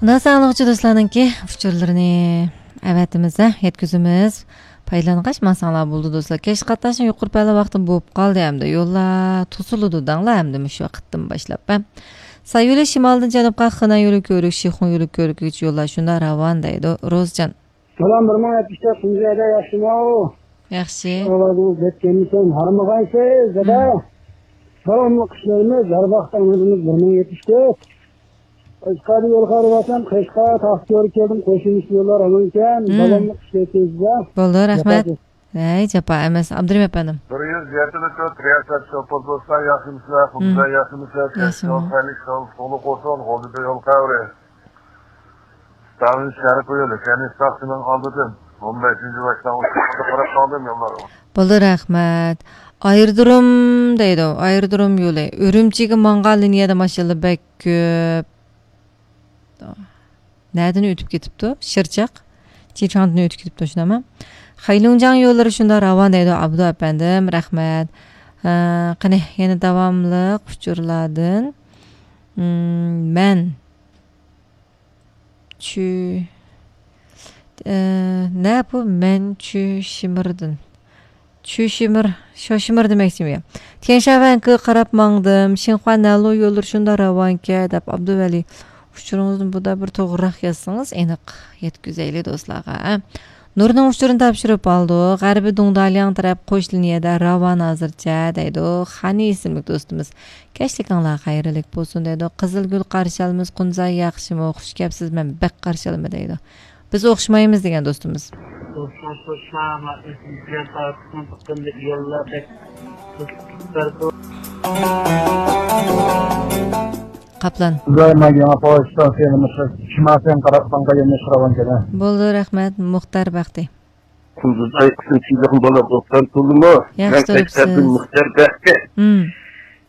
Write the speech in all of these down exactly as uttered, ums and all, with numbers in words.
ئۇنداق ئاڭلىغۇچى دوستلارنىڭكى ئۇچۇرلىرىنى ئەۋەتىمىز، ھە، يەتكۈزىمىز. پايدىلانغاچ ماڭساڭلار بولىدۇ، دوستلار. كەچلىك قاتناشنىڭ يۇقىرى پەللە ۋاقتى بولۇپ قالدى ئەمدى. يوللار توسۇلىدۇ دەڭلار ئەمدى مۇشۇ ۋاقىتتىن باشلاپ، ھە. ساي يولى شىمالدىن جەنۇبقا خېنەن يولى كۆۋرۈك، شىخۇڭ يولى كۆۋرۈك يوللار شۇنداق راۋان دەيدۇ. روزجان. سالام، بىر مىڭ يەتمىش تۆت، تۇنجى ئايدا ياخشىمۇ؟ ياخشى. ئاۋازىڭىز يەتكەنمىكەن، ھارمىغايسىز، دادا. مم. سالاملىق ئىشلىرىمىز، ھەر ۋاقىت ئاڭلىدىڭىز، بىر مىڭ يەتمىش تۆت. قەشقەردە يول خارىۋاتام، قەشقەر، تاختىكۆلگە كەلدىم، قوشۇلمىش يوللار ئامانكەن، مم. داۋاملىق ئىشلەيسىز، دە. بولدى، رەھمەت. ياخشى. ھەي، جاپا ئەمەس، ئابدۇرېھىم ئەپەندىم. بىر يۈز يەتمىش تۆت رىياسەت شوپۇر دوستلار، ياخشىمۇسىلەر؟ مم. خۇددى ياخشىمۇسىلەر؟ ياخشىمۇ؟ كەچ يول خەيرلىك، ساغلىق، ساغلىق بولسۇن، غۇلجىدا يول خەۋىرى. ستالىن شەرقىي يولى، كەنىش تاختىنىڭ ئالدىدىن ئون بەشىنچى ۋاكزالغا قاراپ قالدىم يوللارغا. بولدى، رەھمەت. ئايرودروم دەيدۇ، ئايرودروم يولى. ئۈرۈمچىگە ماڭغان لىنىيەدە ماشىنىلار بەك كۆپ. نەدىن ئۆتۈپ كېتىپتۇ؟ شىرچاق. چىچاڭدىن ئۆتۈپ كېتىپتۇ، شۇنداقمۇ؟ خەيلۇڭجياڭ يوللىرى شۇنداق راۋان دەيدۇ، ئابدۇ ئەپەندىم، رەھمەت. ھە، قېنى، يەنە داۋاملىق ئۇچۇرلاردىن. مم، مەن. چۈ-، ئە، نە بۇ؟ مەن چۈشىمىردىن. چۈشىمىر، شوشىمىر دېمەكچىمۇ يا؟ تيەنشانۋەنگە قاراپ ماڭدىم. شىنخۇا نەنلۇ يوللىرى شۇنداق راۋانكەن، دەپ ئابدۇۋەلى. ئۇچۇرىڭىزنى بۇدا بىر توغرىراق يازسىڭىز، ئېنىق يەتكۈزەيلى دوستلارغا، ھە؟ نۇرنىڭ ئۇچۇرىنى تاپشۇرۇپ ئالدۇق. غەربىي دۇڭدالياڭ تەرەپ قوش لىنىيەدە راۋان ھازىرچە، دەيدۇ. خانى ئىسىملىك دوستىمىز. كەچلىكىڭلار خەيرلىك بولسۇن، دەيدۇ. قىزىلگۈل قارشى ئالىمىز، قۇنزاي ياخشىمۇ؟ خۇش كەپسىز، مەن بەك قارشى ئالىمەن، دەيدۇ. بىز ئوخشىمايمىز دېگەن دوستىمىز. قاپلان. ئىبراھىم ئاكا، يېڭى پاۋا ئىستانسىيەنى مۇشۇ شىمالسىيەنگە قاراپ ماڭغان يەرنى سوراۋاتىدۇ. بولدى، رەھمەت، مۇختەر بەختى. قۇندۇز ئايقىسىم چىلىغىم بالا بوپتان تولىمۇ. ياخشى مەن تۇرۇپسىز. قەشقەردىن مۇختەر بەختى. مم.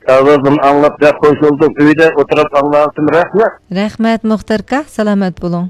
ئاۋازىمنى ئاڭلاپ بەك خۇش بولدۇم. ئۆيدە ئولتۇرۇپ ئاڭلاۋاتىمەن. رەھمەت. رەھمەت، مۇختەر ئاكا. سالامەت بولۇڭ.